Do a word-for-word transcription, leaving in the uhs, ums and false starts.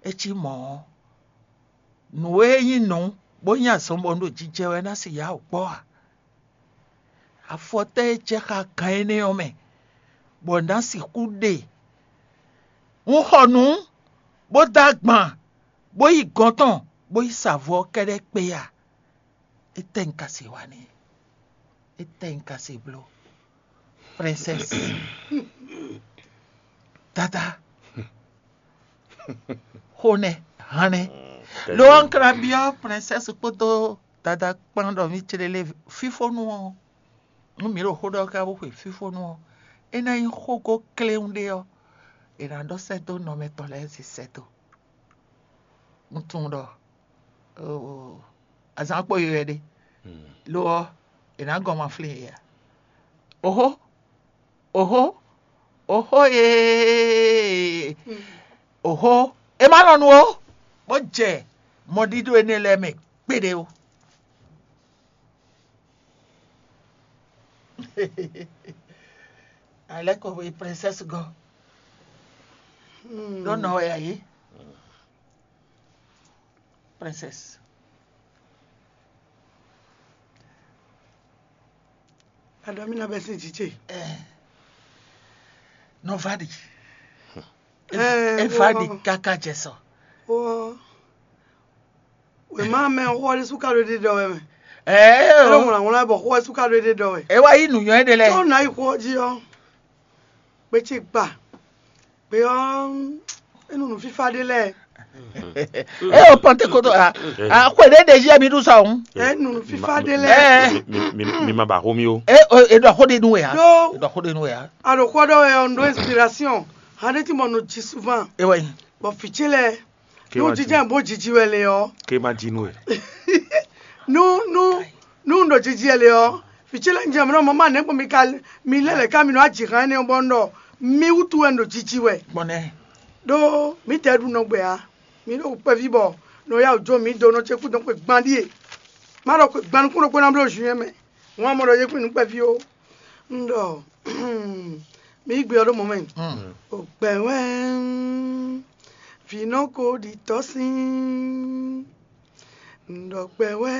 É cí mɔ̌ ɔ́, nǔ e nyí nǔ bó nyí azɔn bɔ un ɖo jijɛ wɛ ná si yá wǔ kpɔ́ a? Afɔ tɛ́ e jɛ xá gan énɛ́ ɔ́ mɛ, bɔ nǎ sixú ɖe? Un xɔ nǔ, bó dó agban, bó yi gɔ̌n tɔn, bó yi sa avɔ ɔ́ kɛ́ɖɛ́ kpé a? Étɛ́ un ka se wa n'i? Étɛ́ un ka se bló? Princesse, dada, xonɛ, hannɛ. Lo ɔ́, un ka ná byɔ́ princesse kpódó dada kpán ɖɔ mì clélé fífónú ɔ́, nú mǐ ɖo xó ɖɔ ká bó xwe fífónú ɔ́, é ná nyí xógó kléwún ɖé ɔ́, è nǎ ɖɔ sɛ́ dó nɔ mɛtɔn lɛ́ɛ sín sɛ́ dó. Un tunwun ɖɔ azǎn kpo yi wɛ ɖe. Lo ɔ́, è nǎ gɔn ma flín yě ǎ. Oxó, oxó, oxó ee, oxó, é má lɔn nu ó, bó jɛ mɔɖíɖó énɛ́ lɛ́ɛ mɛ kpéɖé ó. Alɛ́ ko e princesse gɔ́ ɖó nɔ wɛ a yě? Princesse. Aɖɔ mi na bɛ sin jije. Nɔ va ɖi. Eva ɖi káká jɛ sɔ. Wɔ wema mɛ xɔ ɖé suka ɖo ɖe ɖɔ wɛ mɛ. Ɛɛ. Ɛlɔ ŋlɔ ŋlɔ bɔ xɔ suka ɖo ɖe ɖɔ wɛ. E wa yi nuyɔ ɖe lɛ. Tɔ na yi xɔ ji ɔ. Gbe ce gba. Gbe ɔ enu nu fifa ɖe lɛ. E o pɔnte koto a a xwe ɖe ɖe yɛ mi ɖu sɔ ŋu. Enu nu fifa ɖe lɛ. Ɛɛ. Mi ma ba xo mi o. E o e ɖɔ xo ɖe nu wɛ ya. Ɖo E ɖɔ xo ɖe nu wɛ ya. A ɖo xɔ ɖɔ wɛ ɔ n ɖo inspiration. Hande ti mɔ no ji souvent. E wɛ. Bɔ fi ce lɛ. Nú jijɛ bó jiji wɛ le ɔ. Ke ma ji nú ɛ. Nú nú nú un ɖo jiji wɛ le ɔ, vǐ ce lɛ́ɛ jɛ mɔ̌ mɔ̌ ma nɛ̌ gbɔn mi ka mi lɛ́ lɛ̌ ká mi nɔ aji hán énɛ́ bɔ un ɖɔ mi wútu wɛ un ɖo jiji wɛ. Gbɔn nɛ. Ɖó mǐ tɛ ɖu nɔ gbɛ ǎ. Mi ɖo kpɛví bɔ nɔ ya wǔ jó mi do nɔ ce kú dɔn xwe gban ɖíe. Má ɖɔ xwe gban nukún ɖokpó ná bló zun ɛ mɛ. Wọ́n á mɔ ɖɔ yě kún nǔ kpɛví ó. Un ɖɔ mǐ yi gbe ɔ́ ɖó mɔ̌ mɛ. O gbɛ̌ wɛ vǐ nɔ ko ɖi tɔ́ sín. Un ɖɔ gbɛ̌ wɛ